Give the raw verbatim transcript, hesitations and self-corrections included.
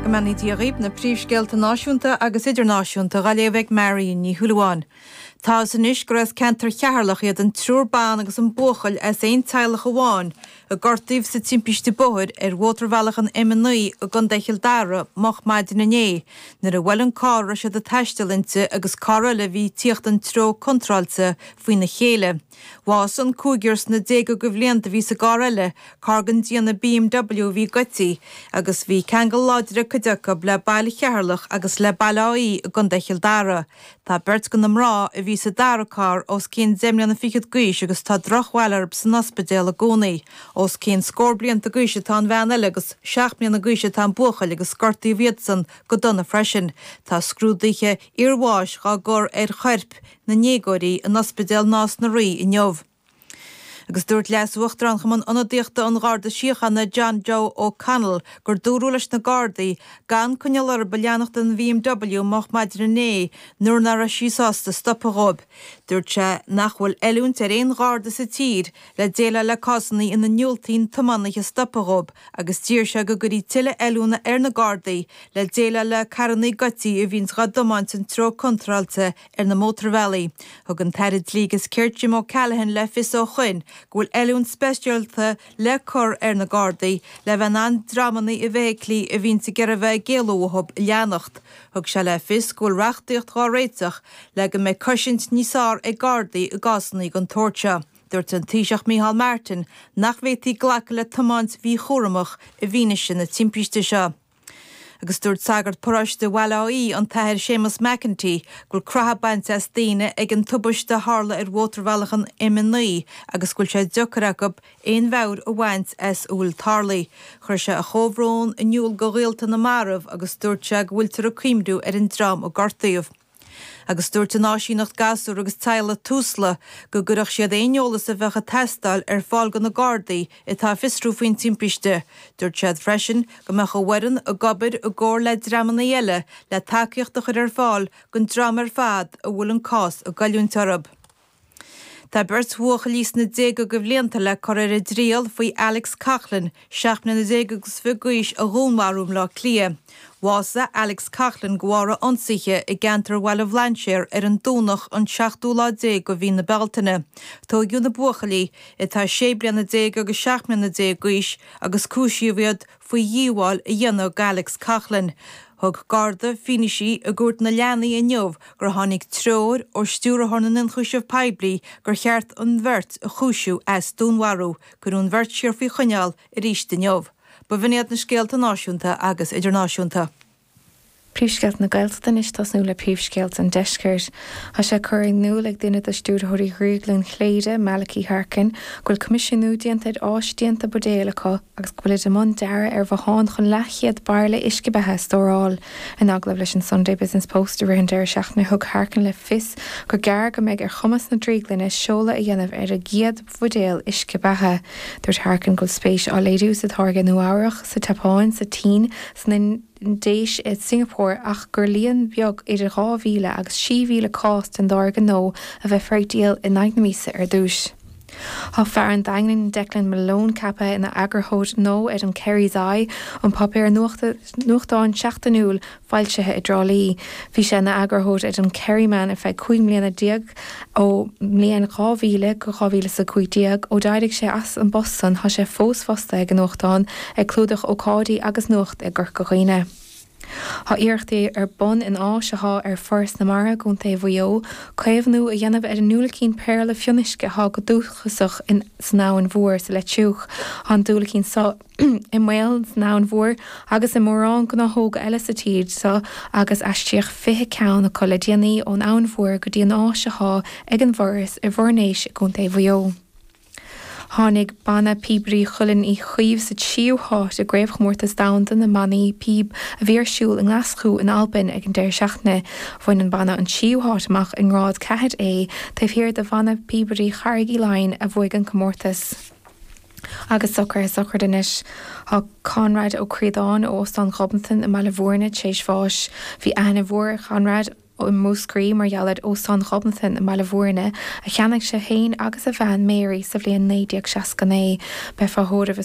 Go mbeannaí Dia dhaoibh na príomhscéalta náisiúnta agus idirnáisiúnta á léamh ag Marion Ní Shúilleabháin. Tá anois gur as ceantar Cheatharlach iad an triúr ban agus an buachaill as aon teaghlach amháin a gortaíodh sa timpiste bóthair ar mhótarbhealach an M naoi i gContae Chill Dara moch maidin inné, nuair a bhuail an carr a raibh siad ag taisteal inti agus carr eile a bhí ag tíocht an treo contráilte faoina chéile. Bhásaigh an cúigear sna déaga de bhlianta a bhí sa gcarr eile, carr den déanamh BMW a bhí goidte, agus bhí ceangal láidir ag cuid acu le baile Cheatharlach agus le Baile Átha Í i gContae Chill Dara. Tá beirt de na mná a bhí sa dara carr os cionn deich mbliana fichead d'aois agus tá drochbhail orthu san ospidéal i gcónaí. Os cionn scór blianta d'aois atá an bhean eile agus seacht mbliana d'aois atá an buachaill agus gortaíodh iadsan go dona freisin. Tá scrúduithe iarbháis á gcur ar choirp na ndéagóirí in ospidéal Nás na Rí inniu. Agus dúirt Leas-Uachtarán Chumann Ionadaíochta an Gharda Síochána John Joe O'Connell gur dúradh leis na Gardaí gan coinneáil orthu leanacht den BMW moch maidin inné nuair nach raibh sí sásta stopadh dóibh. Dúirt sé nach bhfuil oiliúint ar aon Gharda sa tír le déileáil le cásanna ina ndiúltaíonn tiománaithe stopadh dóibh agus d'iarr sé go gcuirfí tuilleadh oiliúna ar na Gardaí le déileáil le carranna goidte a bhíonns á dtiomáint an treo contráilte ar na mótarbhealaí. Thug an tAire Dlí agus Cirt Jim O'Callaghan le fios ó shoin go bhfuil oiliúint speisialta le cur ar na Gardaí le bheith in ann dreamanna i bhfeithiclí a bhíonns ag iarraidh bheith ag éalú uathu a leanacht. Thug sé le fios go bhfuil reachtaíocht á réiteach le go mbeidh cosaint níos fearr ag Gardaí i gcásanna den tsórt seo. Dúirt an Taoiseach Micheál Martin nach bhféadfaí glacadh le tiomáint mhíchúramach i bhfianaise na timpiste seo. Agus dúirt sagart paróiste Bhaile Átha Í an tAthair Séamus McEntee go bhfuil croitheadh bainte as daoine ag an tubaiste a tharla ar mhótarbhealach an M naoi agus go bhfuil sé deacair acu aon mheabhair a bhaint as a bhfuil tarlaithe. Chuir sé a chomhbhrón in iúl do ghaolta na marbh agus dúirt sé go bhfuiltear ag cuimhniú ar an dream a gortaíodh. Agus dúirt an áisíneacht gasúr agus teaghlach Tusla go gcuirfeadh siad aon eolas a bheadh ag teastáil ar fáil do na Gardaí atá ag fiosrú faoin timpiste. Dúirt siad freisin go mbeadh a bhfoireann ag obair i gcomhar le dreamanna eile le tacaíocht a chur ar fáil don dream ar fad a bhfuil an cás ag goilliúint orthu. Tá beirt bhuachaillí sna déaga de bhlianta le cur ar a dtriail faoi Alex Coughlan, seacht mbliana déag agus fiche d'aois a dhúnmharú i mBleá Cliath. Bhásaigh Alex Coughlan de bharr a ionsaithe i gceantar Bhaile Bhlainséir ar an Domhnach an seachtú lá déag de mhí na Bealtaine. Tóigeadh na buachaillí atá sé bliana déag agus seacht mbliana déag d'aois agus cúisíodh iad faoi dhíobháil a dhéanamh d'Alex Coughlan. Thug Garda fianaise i gcúirt na leanaí inniu gur tháinig treoir ó stiúrthóir na n-ionchúiseamh poiblí gur cheart an bheirt a chúisiú as dúnmharú, cuireadh an bheirt siar faoi choinneáil arís inniu. B'in iad na scéalta náisiúnta agus idirnáisiúnta. Príomhscéalta na Gaeltachta anois tosnú le príomhscéalta an deiscirt. Tá sé curtha in iúl ag duine de stiúrthóirí Dhrioglann Chléire, Malachy Harkin, go bhfuil coimisiúnú déanta ar áis déanta buidéal acu agus go bhfuilid i mbun dearadh ar bhothán chun leathchéad bairille uisce beatha a stóráil. In agallamh leis an Sunday Business Post i rith an deireadh seachtaine thug Harkin le fios gur gearr go mbeidh ar chumas na drioglainne seoladh a dhéanamh ar a gcéad bhuidéal uisce beatha. Dúirt Harkin go bhfuil spéis á léiriú sa táirge Nua-Eabhrac, sa tSeapáin, sa tSín, san Indéis i Singapore ach gur líon beag idir dhá mhíle agus sé mhíle cás den táirge nua a bheifear ag díol in aghaidh na míosa ar dtús. Tá fear an Daingin Declan Malone ceaptha ina eagarthóir nua ar an Kerry's Eye, an páipéar nuachtáin seachtainiúil foilsithe i dTrá Lí. Bhí sé ina eagarthóir ar an Kerryman ar feadh cúig mbliana déag ó mbliain dhá mhíle go dhá mhíle is a cúig déag. Ó d'éirigh sé as an bpost san tá sé fós fostaithe ag an nuachtán ag clúdach ócáidí agus nuacht i gCorca Dhuibhne. Tá iarrachtaí ar bun in áis atá ar Foras na Mara i gContae Mhaigh Eo, caomhnú a dhéanamh ar an ndiúilicín péarla fionnuisce atá go dúchasach in san Abhainn Mhór sa Leitriúch. Tá an diúilicín seo i mbaol san Abhainn Mhór agus i mórán gnáthóga eile sa tír seo agus aistríodh fiche ceann acu le déanaí ón Abhainn Mhór go dtí an áis atá ag an bhForas i bhFoirnéis i gContae Mhaigh Eo. Tháinig Banna Píobairí Chuilinn Uí Chaoimh sa tríú háit i gCraobhchomórtas Domhanda na mBannaí Píob a bhí ar siúl i nGlaschú in Albain ag an deireadh seachtaine. Bhain an banna an tríú háit amach i ngrád ceathair A taobh thiar de Bhanna Píobairí Charraig Uí Leighin a bhuaigh an comórtas. Agus socruithe sochraide anois. Tá Conrad Ó Críodáin ó Óstán Ghobnatan i mBaile Bhúirne tar éis bháis. Bhí aithne mhór ar Chonrad i Múscraí mar gheall ar Óstán Ghobnatan i mBaile Bhúirne a cheannaigh sé féin agus a bhean Mary sa bhliain naoi déag seasca naoi. Beifear á thórramh